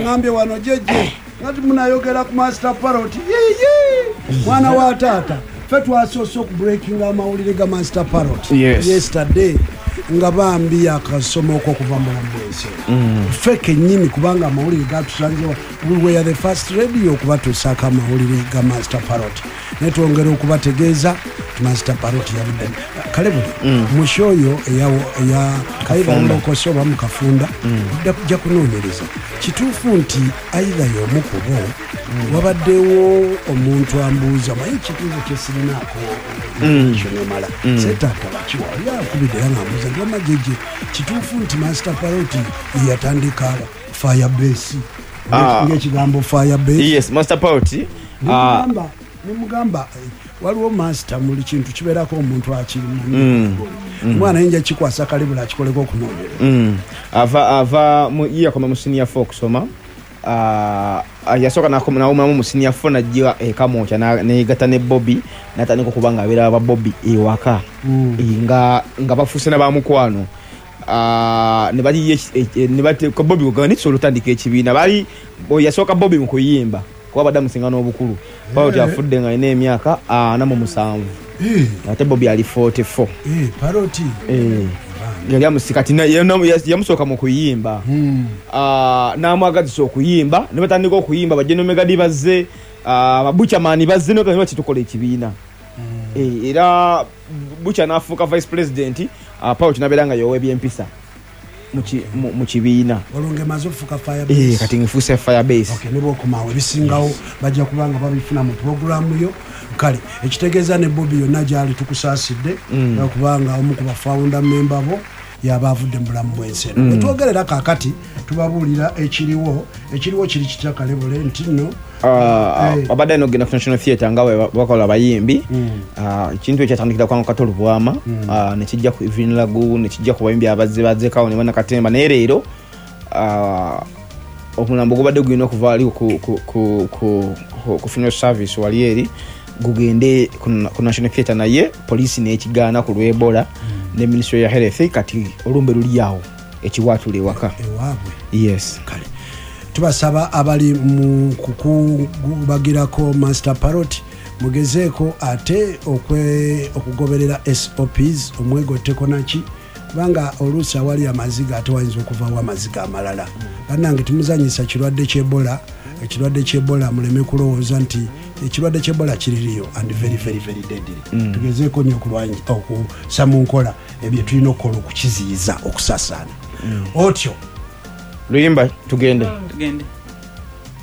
Aŋambye wano jeje ngati munayogera ku Master Parrot. Yiyi mwana wa taata, ffe twasoose okubreakinga amawulire ga Master Parrot yesterday, nga bambi yakasomoko okuva mu bulamu bwensi. Ffe kennyini, kubanga amawulire gatusanzewa, we were the first radio okubatuusaako amawulire ga Master Parrot. Naye twongera okubategeeza nti Master Parrot yabudde. Kale buli mu show yo eya Kayibalokoso oba mukafunda kujja kunoonyereza kituufu nti either y'omu ku bo. Wabaddewo omuntu ambuuza, maye ekibuuzo kyesirinaako information emala, setaata bakiwa oli akubidde era ngambuuza nti, "Wamma jeje, kituufu nti Master Parrot yeyatandika Firebase?" Ngaekigambo Firebase. Yes, Master Parrot. Nemugamba waliwo master, muli kintu kibeerako omuntu akirimu. Omwana yinja kikwasa kalibula akikoleko okunoonyereza. Ava ye yakoma mu senior four okusoma. Yasooka nawumulamu mu senior four, najja ekamwokya neyegatta ne Bobby, natandika okuba nga abeera ba Bobby ewaka. Nga bafuuse na bamukwano. Ne baliyo ne bateeka Bobby kugamba nekisobola otandika ekibiina. Bali yasooka Bobby mu kuyimba, kuba badde amusinga n'obukulu. Parrot afudde nga alina emyaka 47, ate Bobby ali 44. Parrot. Yali amusika kati yamusooka mu kuyimba. N'amwagazisa okuyimba, ne batandika okuyimba. Bajenomegadi bazze, babuchamani bazze, lwaki tukola ekibiina? Era Bucha n'afuuka vice president, Parrot nabeera nga yowa ebyempisa mu kibiina. Olwo ng'emaze okufuuka Firebase. Kati nfuuse Firebase. Okay, ne bwokomaawo ebisingawo bajja kuba nga babifuna mu puroguramu yo. Kale ekitegeeza ne Bobi yonna gyali tukusaasidde, kubanga omu ku bafounder member bo yaba avudde mu bulamu bw'ensi eno. Bwetwogerera kaakati tubabuulira ekiriwo. Ekiriwo kiri kitya, Kalebule, nti nno Abadde alina okugenda ku National Theatre nga bwe bakola abayimbi. Ekintu ekyo kyatandikira kwa Kato Lubwama, nekijja ku Evelyn Lagu, nekijja ku bayimbi abazze bazzekawo ne banakatemba. Naye leero omulambo gubadde gulina okuva wali ku funeral service wali eri gugende ku National Theatre, naye poliisi nekigaana ku lw'Ebola ne Ministry ya Health. Kati olumbe luli awo ekiwaatula ewaka. Ewaabwe. Yes. Kale tubasaba abali mu kukubagirako Master Parrot, mugezeeko ate okugoberera SOPs, omwegotteko naki, kubanga oluusi awali amaziga ate wayinza okuvawo amaziga amalala. Bannange, temuzanyisa kirwadde ky'Ebola. Ekirwadde ky'Ebola, muleme kulowooza nti ekirwadde ky'Ebola kiririyo and very, very, very deadly. Tugezeeko nnyo okussa mu nkola ebyo tulina okukola okukiziyiza okusasaana otyo. Luyimba, tugende. Tugende.